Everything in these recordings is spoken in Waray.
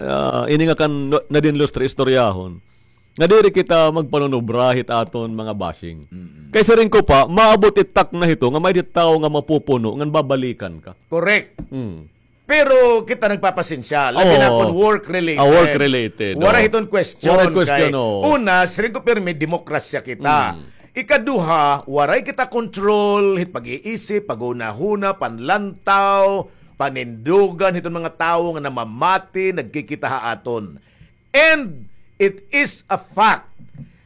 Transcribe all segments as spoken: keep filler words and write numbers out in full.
ah, ini nga kan Nadine Lustre istoryahon, nga diri kita magpanunubra hit aton mga bashing. Mm-mm. Kay siring ko pa, maabot it takna hito nga may-ada tawo nga mapupuno ngan babalikan ka. Correct. Mm. Pero kita nagpapasensya, labi na kon work-related. Ah, work-related, oo. Waray hiton question. Waray question, kay oo. Una, siring ko pirmi, demokrasya kita. Mm. Ikaduha, waray kita control hit pag-iisip, paghunahuna, panlantaw, panindugan hiton mga tawo nga namamati, nagkikita ha aton. And it is a fact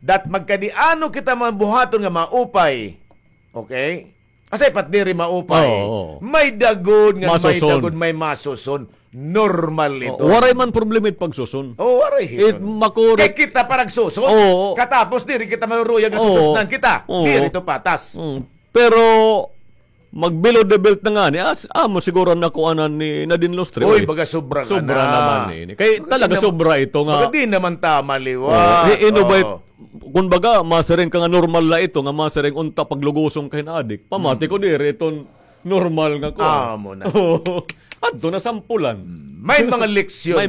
that magkadi-ano kita man buhaton nga maupay, okay? Asay pa it diri maupay. Oo, oo. May-ada gud nga, may-ada gud may masuson. Normal ito. Oo, waray man problema it pagsuson. Oo, waray hiton. It makuri. Kay kita pa nagsuson. Oo. Katapos diri kita maruruyag nga sususnan kita. Oo. Diri ito patas. Mm. Pero mag-below the belt na ngani, as, amo siguro nakuanan ni Nadine Lustre. Uy, baga sobra ka na. Sobra naman ini. Kay talaga sobra ito nga. Baga di naman tama liwat. Oo. Kumbaga, masiring ka nga normal la ito, nga masiring unta pagluguson ka hin adik. Pamati ko diri iton normal nga kuan. Amo na. Oo. Adto na sampulan. Mm. May mga leksyon hini.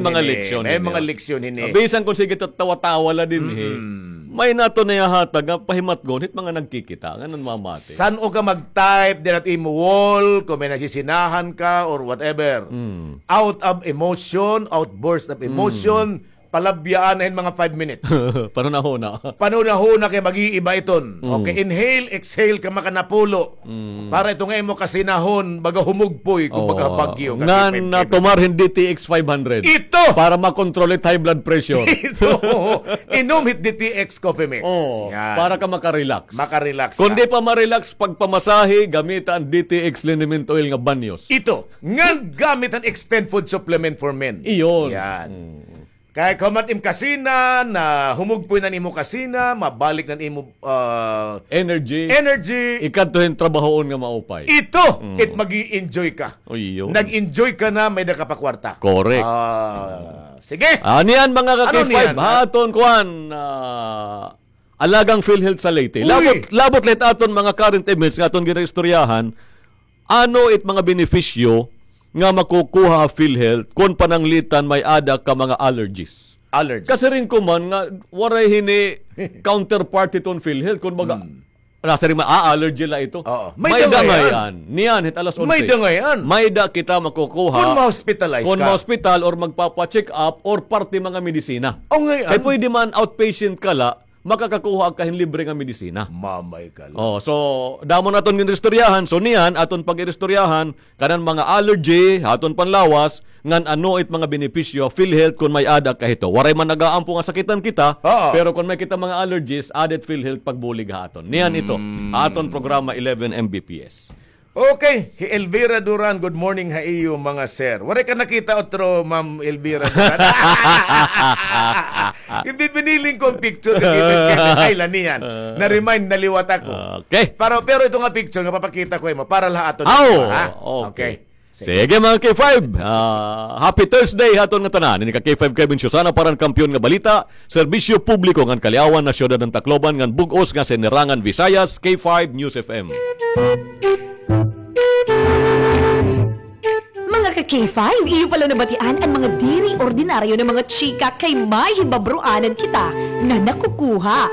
May mga leksyon hini. Bisan kon sige ta tawa-tawa la dinhi. Mm-mm. May-ada naton naihahatag nga pahimatgon hit mga nagkikita nga namamati. San-o ka mag-type dida ha imo wall, kon may nasisinahan ka or whatever. Mm. Out of emotion, outburst of emotion, palabya na hin mga five minutes. Panhunahuna. Panhunahuna kay mag-iiba iton. Mm. Okay, inhale, exhale ka makanapulo. Mm. Para ito nga imo kasinahon, baga humugpoy, kumbaga bagyo. Ngan tumar hin D T X five hundred. Ito! Para makontrol it high blood pressure. Ito! Inom hit D T X Coffee Mix. Oo. Yan. Para ka makarelax. Makarelax ka. Kon di pa marelax, pagpamasahe, gamita an D T X liniment oil nga banyos. Ito! Ngan gamit an Extend Food Supplement for Men. Iyon. Yan. Mm. Kay kahuman it im kasina, nahumugpoy na an imo kasina, mabalik na an imo, ah, energy. Energy. Ikadto hin trabahoon nga maupay. Ito, it mag-i-enjoy ka. Uy, yun. Nag-enjoy ka na, may-ada ka pa kwarta. Correct. Ah, sige. Ah, niyan, mga ka-K five, ha aton kuan, ah, alagang PhilHealth sa Leyte. Uy! Labot, labot la it aton mga current events nga aton ginaistoryahan. Ano it mga benepisyo nga makukuha ha PhilHealth kon pananglitan may-ada ka mga allergies? Allergies. Kasiring ko man nga waray hini counterpart hiton PhilHealth. Kumbaga, nasiring man, ah, allergy la ito. Oo. May-ada ngay-an. Niyan, hit alas onse. May-ada ngay-an. May-ada kita makukuha. Kon ma-hospitalize ka. Kon ma-hospital or magpapa-check up or parte mga medisina. O, ngay-an. Kay pwede man outpatient ka la, makakakuha ka hin libre nga medisina. Mamay ka la. Oh, so, damo na aton ginaistoryahan. So, niyan, aton pag-iristoryahan, kanan mga allergy, aton panlawas, ngan ano it mga benepisyo, PhilHealth kon may-ada ka hito. Waray man nag-aampo nga sakitan kita, oo, pero kon may kita mga allergies, aada it PhilHealth pagbulig ha aton. Niyan ito, aton programa eleven M B P S. Okay, hi Elvira Duran, good morning ha iyo, mga sir. Waray ka nakita otro, Ma'am Elvira Duran. Hindi biniling ko an picture, nakita ko, ay, lanian. Ah. Na-remind, naliwat ako. Okay. Pero, pero ito nga picture nga papakita ko imo, para la ha aton, ha? Okay. Sige, mga K five. Ah, happy Thursday ha aton ngatanan. Ini ka K five Kevin Susana para han Kampiyon nga Balita, Serbisyo Publiko ngan Kaliawan ha Syudad han Tacloban ngan bug-os nga Sinirangan Visayas, K five News F M. Mga ka-K five, iyo pala nabatian an mga diri ordinaryo nga mga chika kay may hibabroanan kita nga nakukuha.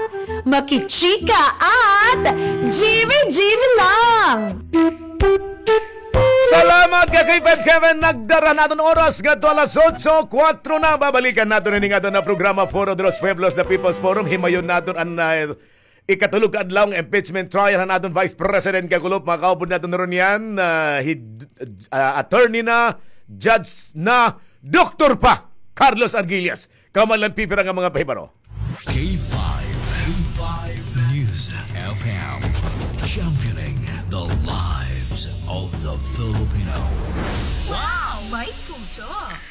Makichika at G B G B lang! Salamat, ka-K five Kevin. Nagdara an aton oras ngadto alas otso kuwatro na. Babalikan naton ini nga aton nga programa, Foro de los Pueblos, The People's Forum. Himayon naton an, ah, ikatulo ka adlaw nga impeachment trial han aton Vice President kakulop. Makaupod naton runyan, ah, hi, ah, attorney na, judge na, doktor pa, Carlos Arguillas. Kahuman la an pipira nga mga pahibaro. K five, K five News F M, championing the lives of the Filipino. Wow! May puso!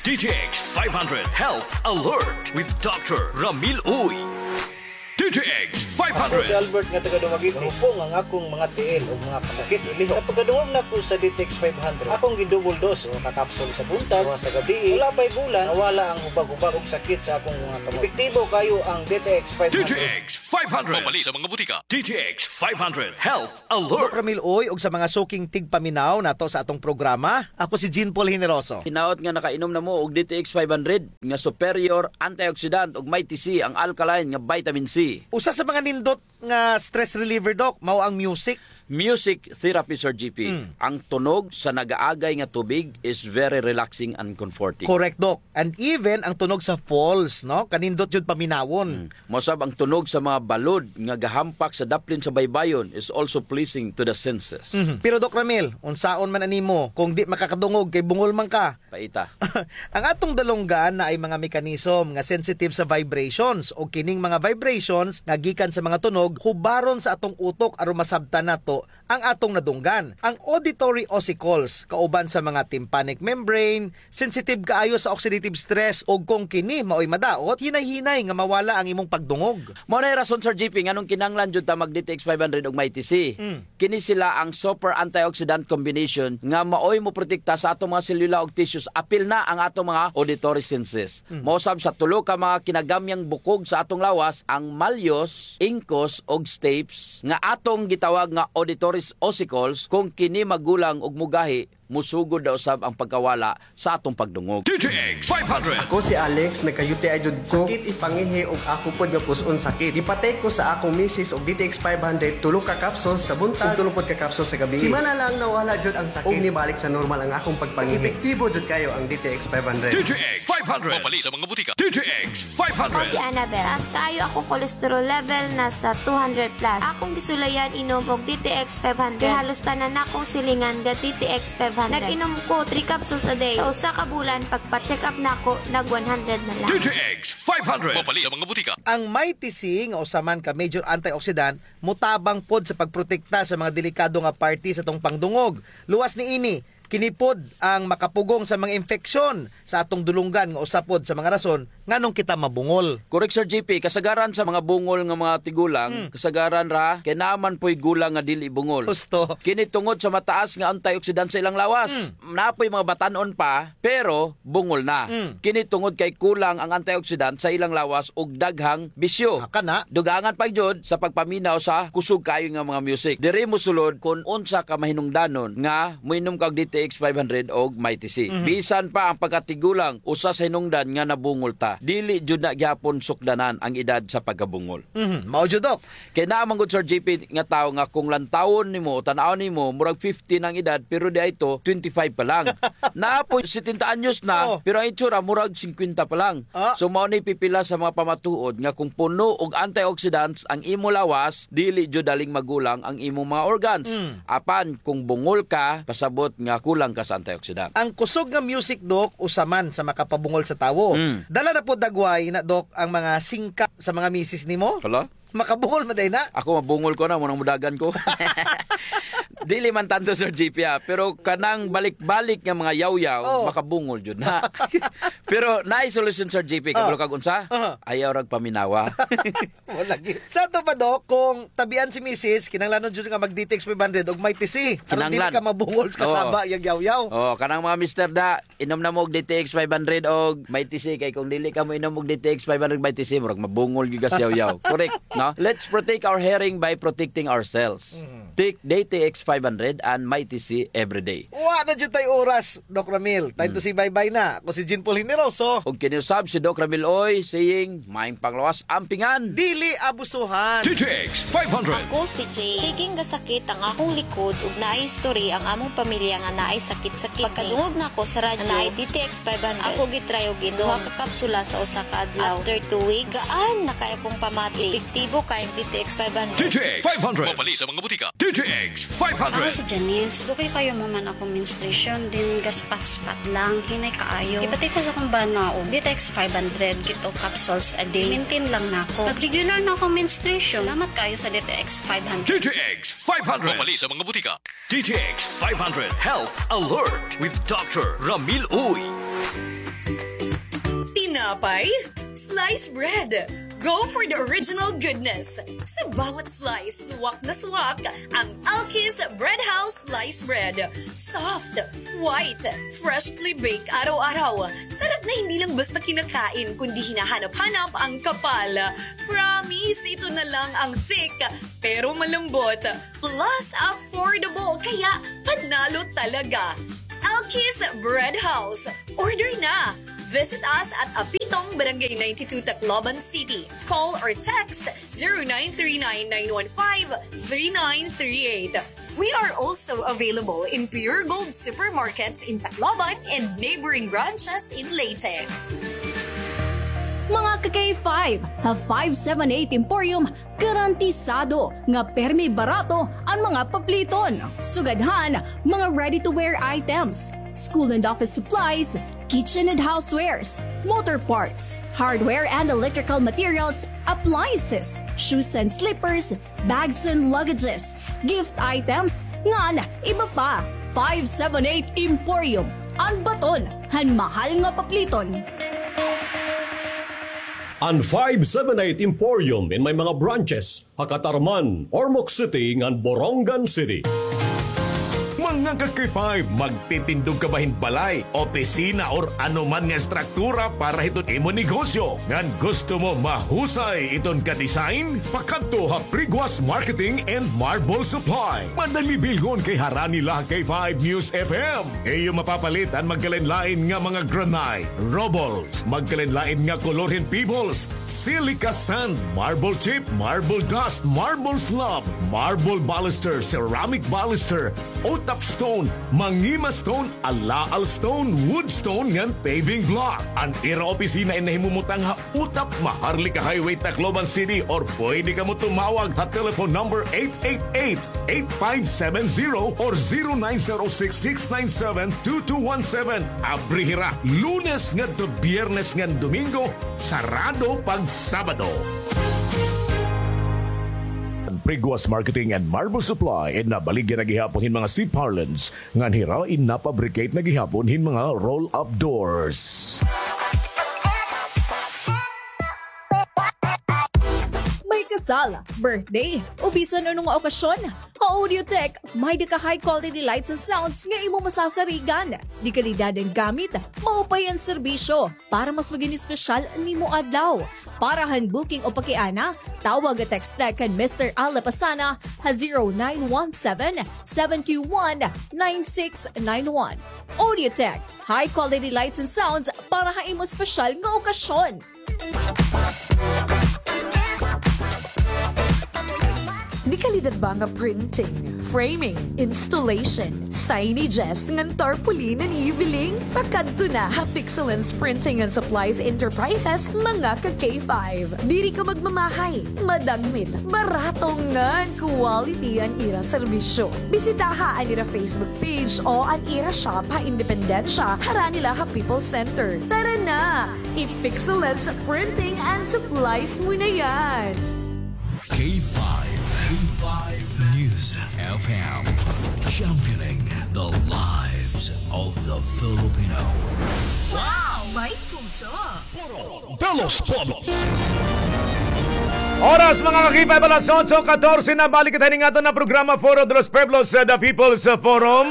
D T X five hundred Health Alert with Doctor Ramil Uy. D T X five hundred. Ako si Albert nga taga Dumaguete. Mahupong ang akong mga tiil o mga kasakit, ilihok. Sa pagkadungog nako sa D T X five hundred, akong gi-double dose, duha ka kapsul sa buntag, duha sa gabii. Wala pa'y bulan, nawala ang hubag-hubag ug sakit sa akong mga kamot. Epektibo kaayo ang D T X five hundred. D T X five hundred. Mapalit sa mga butika. D T X five hundred Health Alert. Doc Ramil Uy, ug sa mga suking tigpaminaw nato sa atong programa, ako si Jean Paul Generoso. Hinaot nga nakainom na mo og D T X five hundred nga superior antioxidant ug Mighty C, ang alkaline nga vitamin C. Usa sa mga nindot nga stress reliever, Doc, mao ang music. Music therapy, Sir G P. Mm. Ang tunog sa nagaagay nga tubig is very relaxing and comforting. Correct, Doc. And even ang tunog sa falls, no? Kanindot jud paminawon. Mm. Mausab ang tunog sa mga balod nga gahampak sa daplin sa baybayon is also pleasing to the senses. Mhm. Pero, Doc Ramil, unsaon man animo kung di makakadungog kay bungol man ka? Paita. Ang atong dalunggan naay mga mechanism nga sensitive sa vibrations, ug kining mga vibrations nga gikan sa mga tunog hubaron sa atong utok aron masabtan nato ang atong nadunggan. Ang auditory ossicles, kauban sa mga tympanic membrane, sensitive kaayo sa oxidative stress, ug kung kini maoy madaot, hinay-hinay nga mawala ang imong pagdungog. Mao nay rason, Sir G P, nganong kinahanglan jud ta mag D T X five hundred ug Mighty C. Mm. Kini sila ang super antioxidant combination nga maoy moprotekta sa atong mga selula ug tissues, apil na ang atong mga auditory senses. Mm. Mausab sa tulo ka mga kinagamyang bukog sa atong lawas, ang malleus, incus, ug stapes, nga atong gitawag nga auditory ossicles, kung kini magulang ug mugahi, musugod na usab ang pagkawala sa atong pagdungog. D T X five hundred. Ako si Alex, nagka-U T I jud ko. Sakit ipangihi ug ako pod nga pus-on sakit. Gipatake ko sa akong misis og D T X five hundred, tulo ka capsules sa buntag ug tulo pod ka capsules sa gabii. Simana lang nawala jud ang sakit ug nibalik sa normal ang akong pagpangihi. Epektibo jud kayo ang D T X five hundred. D T X five hundred. Mapalit sa mga butika. D T X five hundred. Ako si Annabel. Taas kaayo akong cholesterol level, nasa two hundred plus. Akong gisulayan inom og D T X five hundred. Kay halos tanan nakong silingan ga D T X five hundred. Nag-inom ko three capsules a day. Sa usa ka bulan, pagpa-check up nako, nag one hundred na lang. D T X five hundred. Mapalit sa mga butika. Ang Mighty C nga usa man ka major antioxidant, motabang pod sa pagprotekta sa mga delikado nga parte sa atong pangdungog. Luwas niini, kini pod ang makapugong sa mga impeksyon sa atong dulunggan nga usa pod sa mga rason nganong kita mabungol. Correct, Sir G P. Kasagaran sa mga bungol nga mga tigulang, hmm, kasagaran ra kay naa man po'y gulang nga dili bungol. Husto. Kini tungod sa mataas nga antioxidant sa ilang lawas. Hmm. Naa po'y mga batan-on pa, pero bungol na. Mm. Kini tungod kay kulang ang antioxidant sa ilang lawas ug daghang bisyo. Ah, kana. Dugangan pa jud sa pagpaminaw sa kusog kaayo nga mga music. Diri mosulod kun unsa ka mahinungdanon nga moinom ka og D T X five hundred og Mighty C. Mhm. Bisan pa ang pagkatigulang usa sa hinungdan nga nabungol ta, dili jud na gihapon sukdanan ang edad sa pagkabungol. Mhm. Mao jud, Doc. Kay naa man gud, Sir G P, nga tawo nga kung lantawon nimo o tan-awon nimo, murag fifty na ang edad, pero diay to, twenty-five pa lang. Naa po'y setenta anyos na, oh, pero ang itsura, murag singkwenta pa lang. Ah. So, mao ni pipila sa mga pamatuod nga kung puno og antioxidants ang imo lawas, dili jud daling magulang ang imong mga organs. Mm. Apan, kung bungol ka, pasabot nga kulang ka sa antioxidant. Ang kusog nga music, Doc, usa man sa makapabungol sa tawo. Mm. Dala na pod dagway na, Doc, ang mga singka sa mga misis nimo? Hala? Makabungol man diay na. Ako, mabungol ko na, mao nang mudagan ko. Dili man tanto, Sir G P, ha, pero kanang balik-balik nga mga yawyaw, oh, makabungol jud na. Pero naay solusyon, Sir G P, oh, kabalo kag unsa? Uh-huh. Ayaw rag paminawa. Wala lagi. Sa ato pa, Doc, kung tabian si misis, kinahanglanon jud nga mag-D T X five hundred og Mighty C. Aron dili ka mabungol sa kasaba, yag yawyaw. Oh, kanang mga mister da, inom na mo og D T X five hundred og Mighty C, kay kung dili ka moinom og D T X five hundred Mighty C, murag mabungol gyud ka sa yawyaw. Correct, no? Let's protect our hearing by protecting ourselves. Mhm. Take D T X five hundred and Mighty C every day. Wa na jud tay oras, Doc Ramil. Time to say bye-bye na. Ako si Jean Paul Generoso. Ug kini usab si Doc Ramil Uy, saying, maayong panglawas, ampingan. Dili abusuhan. D T X five hundred. Ako si Jane. Siging gasakit ang akong likod ug naay history ang among pamilya nga naay sakit-sakit. Pagkadungog nako sa radyo nga naay D T X five hundred, ako gi-try og inom duha ka kapsula sa usa ka adlaw. After two weeks, gaan na kaayo akong pamati. Epektibo kaayo ang D T X five hundred. D T X five hundred. Mapalit sa mga butika. D T X five hundred. Ako si Janice. Dugay kaayo mahuman akong menstruation, then gaspat-spat lang, hinay kaayo. Gipatake ko sa akong bana og D T X five hundred, two capsules a day. Maintain lang nako. Nag-regular na akong menstruation. Salamat kaayo sa D T X five hundred. D T X five hundred. Mapalit sa mga butika. D T X five hundred Health Alert with Doctor Ramil Uy. Tinapay, sliced bread, Go for the original goodness. Sa bawat slice, suwak na suwak ang Alki's Bread House Slice Bread. Soft, white, freshly baked araw-araw. Sarap na hindi lang basta kinakain, kundi hinahanap-hanap ang kapal. Promise, ito na lang ang thick, pero malambot. Plus, affordable. Kaya, panalo talaga. Alki's Bread House. Order na! Visit us at Apitong, Barangay ninety-two, Tacloban City. Call or text zero nine three nine nine one five three nine three eight. We are also available in Pure Gold supermarkets in Tacloban and neighboring branches in Leyte. Mga ka-K five, ha five seven eight Emporium, garantisado nga permi barato an mga papliton. Sugad han mga ready-to-wear items, school and office supplies, kitchen and housewares, motor parts, hardware and electrical materials, appliances, shoes and slippers, bags and luggages, gift items, ngan iba pa. Five seven eight Emporium, an baton han mahal nga papliton. An five seven eight Emporium in may mga branches ha Catarman, Ormoc City, ngan Borongan City. Mga ka-K five, magtitindog ka ba hin balay, opisina, or ano man nga estruktura para hiton imo negosyo? Ngan gusto mo mahusay iton ka-design? Pakadto ha Priguas Marketing and Marble Supply. Madali bilngon kay harani la ha K five News F M. Iyo mapapalit an magkalain-lain nga mga granite, rubbles, magkalain-lain nga kolor hin pebbles, silica sand, marble chip, marble dust, marble slab, marble baluster, ceramic baluster, utap stone, mangima stone, alaal stone, wood stone, ngan paving block. An ira opisina in nahimumutang ha Utap, Maharlika Highway, Tacloban City, or pwede kamo tumawag ha telephone number eight eight eight, eight five seven zero or zero nine zero six, six nine seven, two two one seven. Abri hira Lunes ngadto Biyernes ngan Domingo, sarado pag Sabado. Priguas Marketing and Marble Supply in nabaligya na gihapon hin mga C-parlance ngan hira in napabricate na gihapon hin mga roll-up doors. May kasal, birthday, o bisan ano nga okasyon, ha Audiotech, may-ada ka high quality lights and sounds nga imo masasarigan. Dekalidad an gamit, maupay an serbisyo, para mas magin espesyal an imo adlaw. Para han booking o pakiana, tawag o text na kan Mister Al Lapasana ha zero nine one seven, seven two one, nine six nine one. Audiotech, high quality lights and sounds para ha imo espesyal nga okasyon. Dekalidad ba nga printing, framing, installation, signages, ngan tarpaulin an iyo biling? Pakadto na ha Pixelens Printing and Supplies Enterprises, mga ka-K five. Diri ka magmamahay, madagmit, barato ngan quality an ira serbisyo. Bisitaha an ira Facebook page o an ira shop ha Independencia, harani la ha People's Center. Tara na! I-Pixelens Printing and Supplies mo na yan! K five, K five News F M, championing the lives of the Filipino. Wow! May puso! Foro de los Pueblos. Oras, mga ka-K five, alas otso katorse na. Balik kita ini nga aton nga programa, Foro de los Pueblos, uh, the People's, uh, Forum.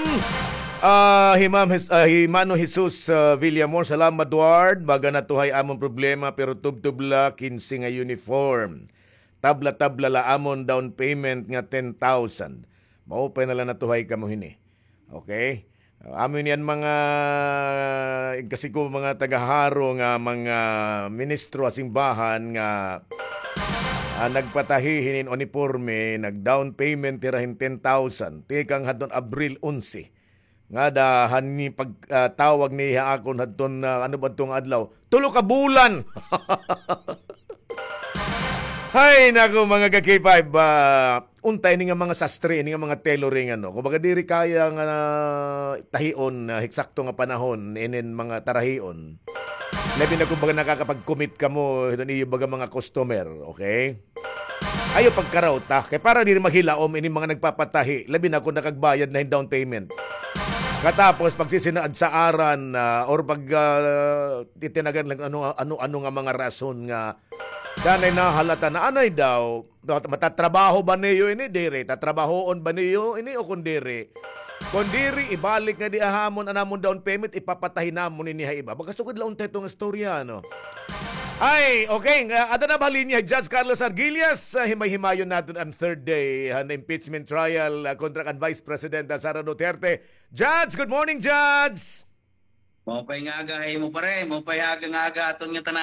Ah, hi Ma'am Hes-, ah, hi Mano Jesus, ah, Villamor, salamat, Ward. Baga natuhay amon problema, pero tubtob la kinse nga uniform. Tabla-tabla la amon down payment nga ten thousand. Maupay na la natuhay kamo hini. Okay? Amo ini an mga, kasi ko, mga taga-Jaro nga mga ministro ha simbahan nga, ah, nagpatahi hinin uniporme, nag-down payment hira hin ten thousand tikang hadton Abril onse. Ngada han ni pag-, ah, tawag ni ha akon hadton, ah, ano ba adto nga adlaw? Tulo ka bulan! Hay, naku, mga ka-K five, ah, unta ini nga mga sastre, ini nga mga tailoring, ano. Kumbaga, diri kaya nga tahion, ah, eksakto nga panahon, inin mga tarahion. Labi na, kumbaga, nakakapag-commit kamo, hiton iyo baga mga customer, okay? Ayaw pagkarawta, kay para diri maghilaom ini mga nagpapatahi, labi na kon nakagbayad na hin down payment. Katapos, pagsisinaad-saaran, ah, or pag, ah, titinagan lang ano, ano, ano nga mga rason nga Danay nahalata na anay daw. Matatrabaho ba niyo ini? Diri. Tatrabahoon ba niyo ini o kun diri? Kun diri, ibalik nga di ha amon an amon down payment, ipapatay namon ini ha iba. Baga sugad la unta ito nga istorya, no? Ay, okay. Nga, ada na ba linya, Judge Carlos Arguillas? Ah, himay-himayon naton an third day han impeachment trial, ah, kontra kan Vice President, ah, Sara Duterte. Judge, good morning, Judge! Maupay nga aga ha imo, pare. Maupay aga nga aga aton nga tanan.